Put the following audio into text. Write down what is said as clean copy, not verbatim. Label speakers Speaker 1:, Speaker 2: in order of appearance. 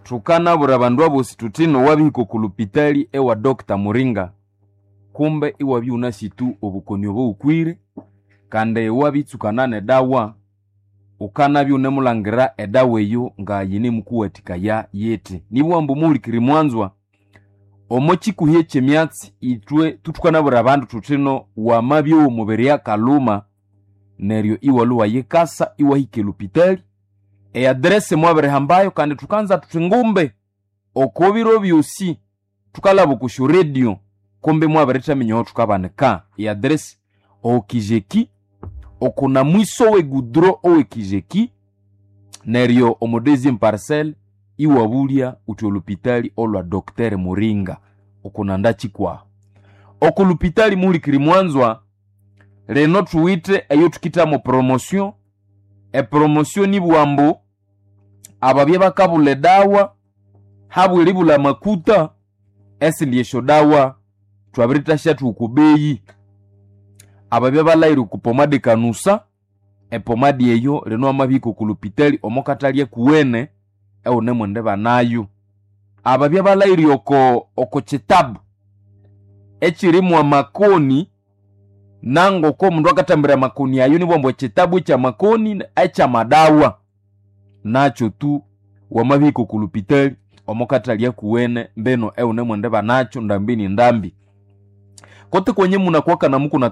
Speaker 1: Thukanabwira abandu abosi thuthi nowabihika oku lupitali ewa Dr. Muringa, kumbe iwabya iwunasi tu obukoni obo wukwire, kandi iwabitsukana nedawa, wukanabya iwunemulangira edawa eyo nga yinemukuwathikaya yithi. Nibugha ambu muhulikiriri mwanzwa, omo kikuhi ekyemyatsi ithwe thukanabwira abandu thuthino wamabya omubiri akalhuma, neryo iwalhwa iwayikasa iwahika elupitali, eaddress mwabirihambayo, kandi thukanza thuthi ngumbe oko biro byosi thukalhaba oko syoradio kumbe mwabirithaminya aho thukabanika. Eaddress okijeki okuna mwiso w'egudro ow'ekijeki, neryo omo deuxième parcelle iwabulya uthi olupitali olwa Dr. Muringa okunanda kikwaho. Oku lupitali muhulikiri mwanzwa, lino thuwithe eyo thukithamo promotion. Epromotion nibugha ambu ababya bakabulha edawa habw'eribulha amakuta, esindi esyodawa thwabirithasyathwa oko beyi. Ababya balhaghire oko pomade kanusa, epomadi eyo lino wamabihika oko lupitali omo kathalya kuwene ewunemwendibanayo. Ababya balhaghire oko kitabu ekirimu amakoni, nangoko omundu akathambira amakoni ayo nibugha ambu ekitabu ekyamakoni ekyamadawa, nakyo tu wamabihika oko lupitali omo kathalya kuwene mbino ewunemwendibanacho ndambi ni ndambi. Kotse kwenye munakuwaka namukuna.